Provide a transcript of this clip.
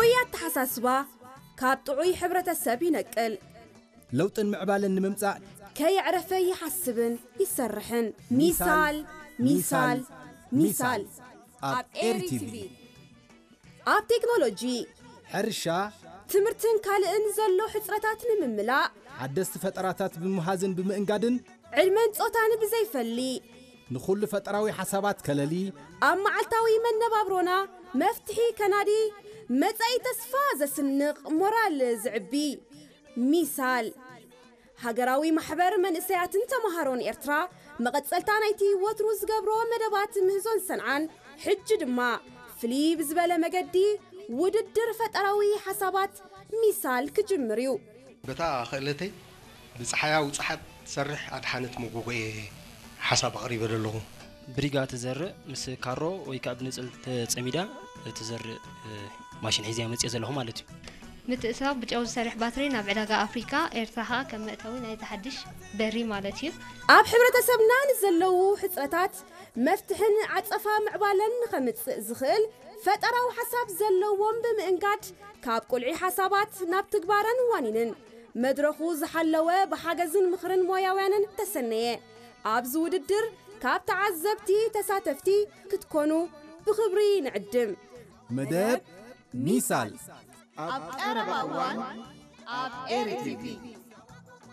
ጥዑይ ኣተሓሳስባ ካብ ጥዑይ ሕብረተሰብ ይነቅል። ለውጥን ምዕባለን ንምምጻእ ከየዕረፈ ይሓስብን ይሰርሕን። ሚሳል፣ ሚሳል፣ ሚሳል። ኣብ ኤሪ ቲቪ። ኣብ ቴክኖሎጂ፣ ሕርሻ፣ ትምህርትን ካልእን ዘሎ ሕጽረታት ንምምላእ፣ ሓደስቲ ፈጠራታት ብምሃዝን ብምእንጋድን፣ ዕድመን ጾታን ብዘይፈሊ፣ ንኹሉ ፈጠራዊ ሓሳባት ከለሊ፣ ኣብ መዓልታዊ መነባብሮና መፍትሒ ከናዲ፣ መጻኢ ተስፋ ዘስንቕ፣ ሞራል ዝዕቢ። ሚሳል፣ ሃገራዊ ማሕበር መንእሰያትን ተማሃሮን ኤርትራ፣ መቐጸልታ ናይቲ ወትሩ ዝገብሮ መደባት ምህዞን ሰንዓን፣ ሕጂ ድማ ፍልይ ብዝበለ መገዲ ውድድር ፈጠራዊ ሓሳባት ሚሳል ክጅምር እዩ። በታ ክእለተይ ብጸሓያ ውጽሓት ትሰርሕ ኣድሓነት መጎጎ እየ ሓሳብ ኣቕሪበ ዘለኹ። ብሪጋ ትዘርእ ምስ ካሮ ወይ ከዓ ብንጽል ተጸሚዳ ትዘርእ፣ እ፣ ማሽን ሒዘ መጽእ ዘለኹ ማለት እዩ። ምትእስሳር ብጨው ዝሰርሕ ባትሪ ናብ ዕዳጋ ኣፍሪካ፣ ኤርትራ ከዓ ከም መእተዊ ናይቲ ሓድሽ በሪ ማለት እዩ። ኣብ ሕብረተሰብና ንዘለዉ ሕጽረታት መፍትሕን ዓጸፋ ምዕባለን ንኸምጽእ ዝኽእል ፈጠራዊ ሓሳብ ዘለዎም ብምእንጋድ፣ ካብ ቁልዒ ሓሳባት ናብ ትግባረን ዋኒንን መድረኹ ዝሓለወ፣ ብሓገዝን ምኽርን ሞያውያንን ተሰነየ። ኣብዚ ውድድር ካብ ተዓዘብቲ ተሳተፍቲ ክትኮኑ ብኽብሪ ንዕድም። መደብ ሚሳል ኣብ ቀረባ እዋን ኣብ ኤሪ ቲቪ።